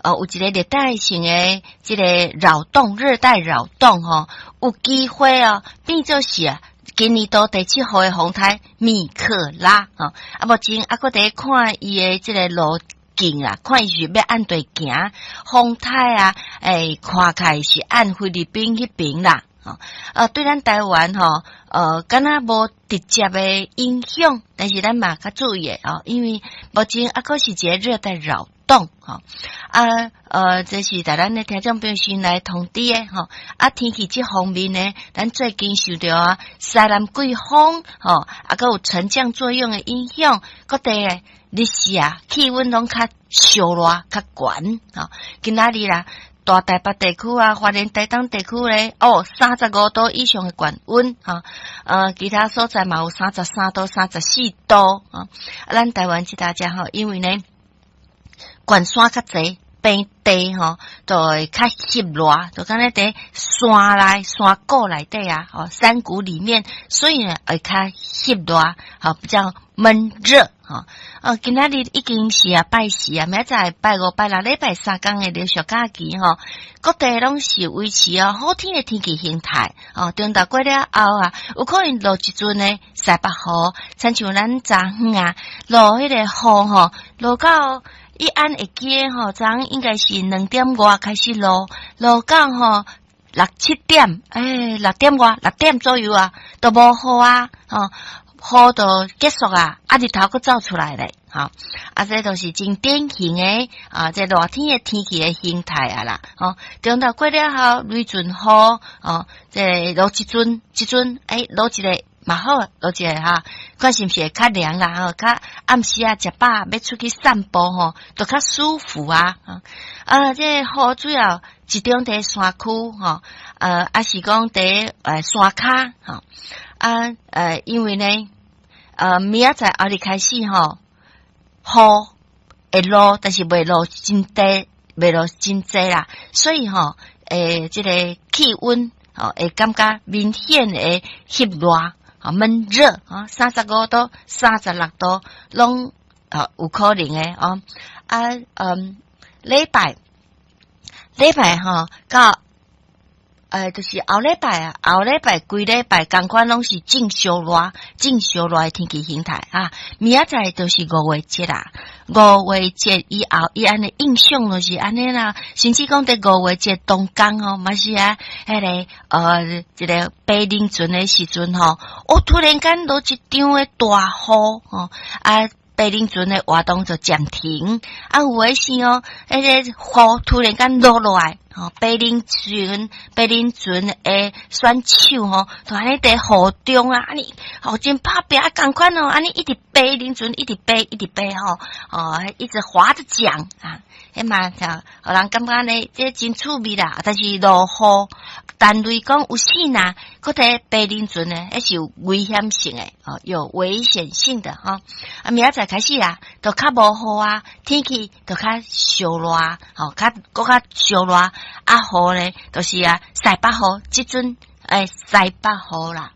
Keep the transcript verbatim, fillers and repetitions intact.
呃，有一個熱帶性的這個擾動，熱帶擾動吼，有機會哦，變做是啊，今年度第七號的風颱米克拉吼。啊，目前猶閣佇看伊的這個路徑啊，看伊是欲按佗行，風颱啊，欸，看起來是按菲律賓彼爿啦。吼，呃，對咱台灣吼，呃，敢若無直接的影響，但是咱嘛較注意的哦，因為目前猶閣是一個熱帶擾動，吼，啊，呃，這是予咱的聽眾朋友先來通知的吼，啊，天氣這方面呢，咱最近受著啊西南季風，吼，啊，閣有沉降作用的影響，各地的日時啊，氣溫攏較燒熱、較懸，吼，今仔日啦，大台北地區啊，花蓮、台東地區咧，哦，三十五度以上的懸溫，哈，呃，其他所在嘛有三十三度、三十四度，啊，咱台灣這搭遮吼，因為呢，懸山較濟，平地吼，就會較翕熱，就敢若佇山內、山谷內底啊，吼，山谷裡面，所以呢會較翕熱，吼，比較悶熱，吼。哦，今仔日已經是啊拜四啊，明仔載拜五、拜六禮拜三工的連續假期吼，各地攏是維持哦好天的天氣形態，哦，中晝過了後啊，有可能落一陣的西北雨，親像咱昨昏啊，落彼個雨吼，落到伊按會記吼，昨昏應該是兩點外開始落，落到吼六七點，欸，六點外，六點左右啊，都無雨啊，吼。雨就結束啊，啊日頭閣走出來咧，吼，啊這都是真典型的啊，這熱天的天氣的形態啊啦，吼，中晝過了後，雷陣雨，哦，這落一陣，一陣，欸，落一个嘛好，落一个哈，看是毋是會較涼啦，吼，較暗時啊，食飽欲出去散步吼，都較舒服啊，啊，這雨主要集中佇山區，吼，呃，抑是講佇呃山跤，吼，啊，呃，因為呢，呃，明仔載後日開始吼，雨會落，但是袂落真濟，袂落真濟啦，所以吼，欸，這個氣溫吼會感覺明顯的翕熱，吼悶熱，啊，三十五度、三十六度，攏啊有可能的哦。啊，嗯，禮拜禮拜吼到。呃，就是後禮拜啊，後禮拜規禮拜仝款攏是正燒熱、正燒熱的天氣形態啊。明仔載就是五月節啦，五月節以後，伊按呢印象就是按呢啦。甚至講佇五月節當工吼，嘛是啊，彼個呃，一個白輪船的時陣吼，哦，突然間落一場的大雨吼，啊。白輪船的活動就暫停，啊，有的時哦，彼個雨突然間落落來，吼，白輪船、白輪船的選手吼，就按呢佇雨中啊，按呢，吼真拍拚啊，仝款哦，按呢一直爬輪船，一直爬，一直爬吼，哦，一直划著槳啊，彼嘛就予人感覺呢，這真趣味啦。但是落雨，但類講有時若，閣佇爬輪船呢，彼是有危險性的，哦，有危險性的吼。啊，明仔載開始啊，就較無雨啊，天氣就較燒熱，吼，較閣較燒熱。啊，雨咧，就是啊，西北雨，這陣欸，西北雨啦。